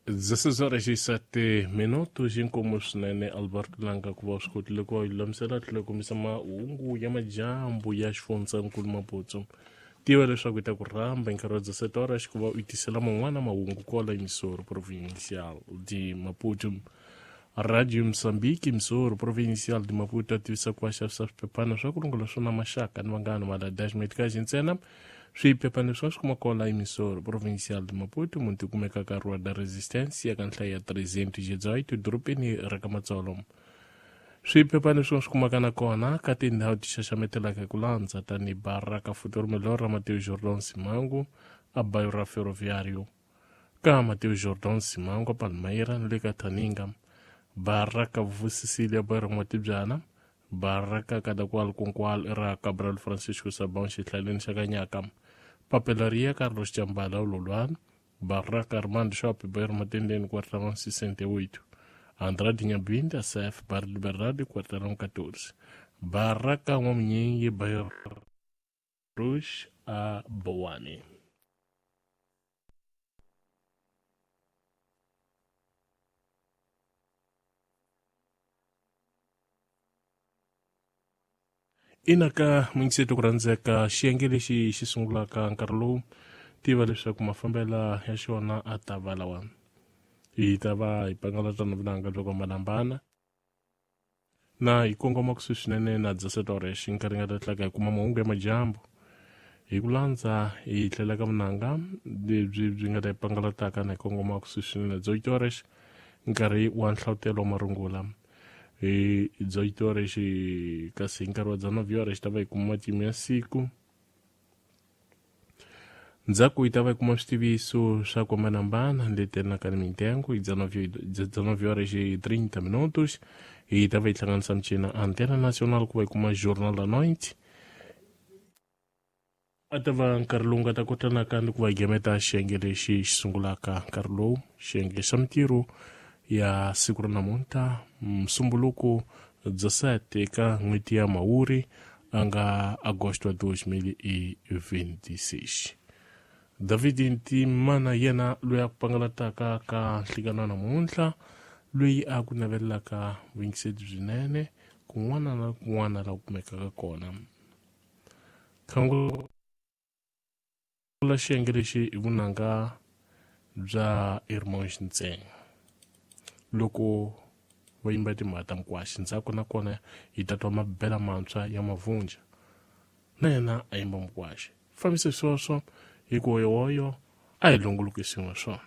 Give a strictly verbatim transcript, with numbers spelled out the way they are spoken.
dezesseis horas e sete minutos inkomu swinene Albert Langa ku va swi kotile ku va yi lulamisela tlhela kombisa mahungu ya madyambu ya xifundzankulu Maputo. Tiva leswaku yi ta ku rhamba hi nkarhi wa dezessete horas ku va u tisela man'wana mahungu kwala emissora provincial de Maputo. Radio Moçambique, emissora provincial de Maputo, a tivisa ku va xavisa swiphephana swa ku rungula swona maxaka ni vanghana maladash medikaxi ntsena. Swiphephana leswi swi kuma kwala emissora provincial de Maputo munti kumeka ka Rua da Resistência ka nhlayo ya trezentos e dezoito dorobeni ra ka Matsolo. Swiphephana leswi swi kumaka na kona ka tindhawu ti xaxametelaka hi ku landza tanihi Baraka Futuro Melhor ra Mateus Jordan Simango a bairro ra Ferroviário, ka Mateus Jordan Simango a Palmeira na le ka Thaninga, Baraka Vusisília bairro N'watibyana, Baraka Kadakwal Kunkwal ra Cabral Francisco Sabão xihlaleni xa Kanyaka, Papelaria Carlos Chambala Ululwana, Baraka Armando Shop bairro Matendeni quarteirão sessenta e oito, Andrade Nhabinda C F Barra Liberdade quarteirão catorze, Baraka N'wamunyingi bairro Cruz a Boane. Ina ka mingiseto ku rhandzeka xiyenge lexi xi sungulaka nkarhi lowu tiva leswaku mafambela ya xona a ta va lawa. Hi ta va hi pangalatana vunanga byo hambanahambana na hi kongoma kusuhi swinene na dezessete horas nkarhi nga ta tlhela hi kuma mahungu ya madyambu hi ku landza hi tlhela ka vunanga lebyi byi nga ta hi pangalataka na hi kongoma kusuhi swinene na dezoito horas nkarhi wa nhlavutelo wa marungula. Hi dezoito horas kasi hi nkarhi wa dezenove horas ta va hi kuma matimu ya siku. Ndzhaku hi ta va hi kuma switiviso swa ku hambanahambana leti ni mintengo hi dezenove horas e trinta minutos hi ta va hi hlanganisa michina Antena Nacional ku va hi kuma Jornal da Noite. A ta va nkarhi lowu nga ta kota nakambe ku va hi gemeta xiyenge lexi xi sungulaka nkarhi lowu xiyenge xa mintirho ya siku ra namuntlha Msumbuluko dezessete ka n'hweti ya Mhawuri a nga agosto dois mil e vinte e seis. David Ntimana yena loyi a ku pangalataka ka nhlikano wa namuntlha loyi a ku navelelaka vuyingiseri byinene kun'wana na kun'wana laha ku kumekaka kona. Khangula xiyenge lexi hi vunanga bya Irmãos ntsena loko va yimba timhaka ta Mukwaxi. Ndzhaku na kona hi ta twa mabela mantshwa ya Mavunja na yena a yimba Mukwaxi. Fambise sweswo hi ku hoyohoyo a hi longoloki swin'we swona.